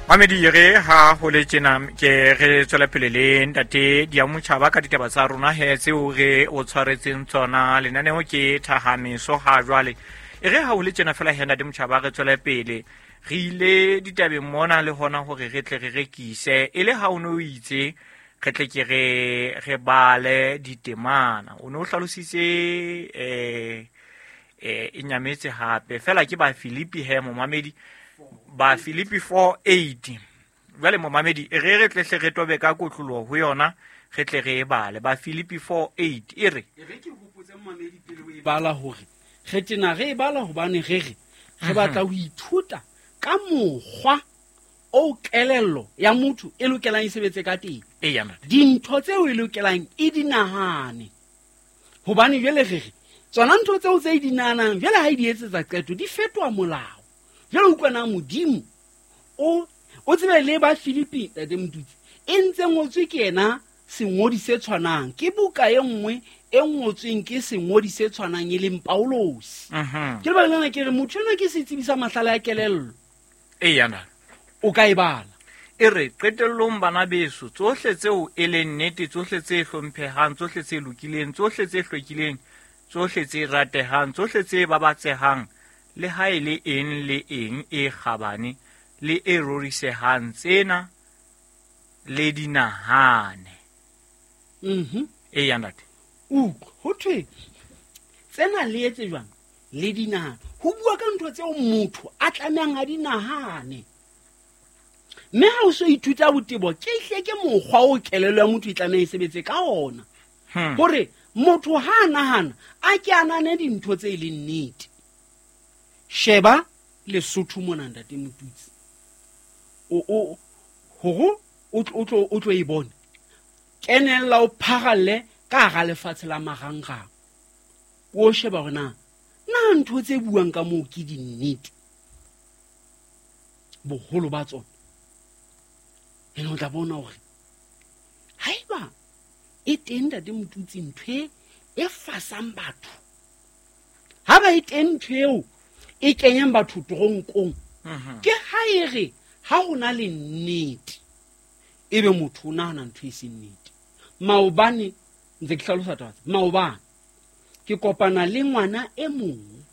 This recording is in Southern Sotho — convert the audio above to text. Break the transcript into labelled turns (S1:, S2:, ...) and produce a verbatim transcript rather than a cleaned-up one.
S1: Mamedi re ha ho le tjena ke re tswela pele le ntate Diamotjhaba ka ditaba tsa rona he tseo re o tshwaretseng tsona. Lenaneo ke Thahameso ha jwale. E re ha ho le tjena fela he ntate Motjhaba re tswele pele. Re ile ditabeng mona le hona hore re tle re rekise. E le ha o no itse re tle ke re re bale ditemana. O no hlalositse eh eh e nyametse hape. Fela ke ba Filipi he momamedi. Ba Filipi four eight. Jwale momamedi e re re tle hle re tobe ka kotloloho ho yona re tle re e bale. Ba Filipi four eight e re.
S2: E re ke hopotse momamedi pele o e bala hore re tena re e bala hobane re re re batla ho ithuta ka mokgwa o kelello ya motho e lokelang e sebetse ka teng.
S1: Eya, ntate.
S2: Dintho tseo e lokelang e di nahane. Hobane jwale re re tsona ntho tseo tse e di nahanang jwale ha e di etsetsa qeto di fetoha molao. Jwale utlwa na Modimo o, o tsebe le ba Filipi ntate Motutsi e ntse ngotswe ke yena sengodi se tshwanang ke buka e nngwe e ngotsweng ke sengodi se tshwanang e leng Paulosi.
S1: Mhm.
S2: Ke lebaka lena ke re motho enwa ke setsebi sa mahlale a kelello.
S1: Eya, ntate.
S2: O ka e bala.
S1: E re qetellong bana beso tsohle tseo e leng nnete, tsohle tse hlomphehang, tsohle tse lokileng, tsohle tse hlwekileng, tsohle tse ratehang, tsohle tse babatsehang, le ha e le eng le eng e kgabane le e rorisehang, tsena le di nahane.
S2: Mhm.
S1: Eya, ntate.
S2: Utlwa, ho thwe tsena le etse jwang? Le di nahane. Ho bua ka ntho tseo motho a tlamehang a di nahane. Mme ha o so ithuta botebo, ke hle ke mokgwa o kelello ya motho e tlameha e sebetse ka ona.
S1: Hmm.
S2: Hore motho ha a nahana, a ke a nahane dintho tse e leng nnete. Sheba Lesotho mona ntate Motutsi. O, o, hore o tlo, o tlo, o tlo e bone. Kenella o pharalle ka hara lefatshe la marangrang. O sheba hore na, na ntho tse buang ka moo ke dinnete. Boholo ba tsona. Ene o tla bona hore haeba e teng ntate Motutsi ntho e, e fasang batho. Ha ba e teng ntho eo e kenyang batho toronkong.
S1: Mhm.
S2: Ke ha e re ha ho na le nnete ebe motho o nahana ntho e seng nnete. Maobane ntse ke hlalosa taba tse. Maobane ke kopana le ngwana e mong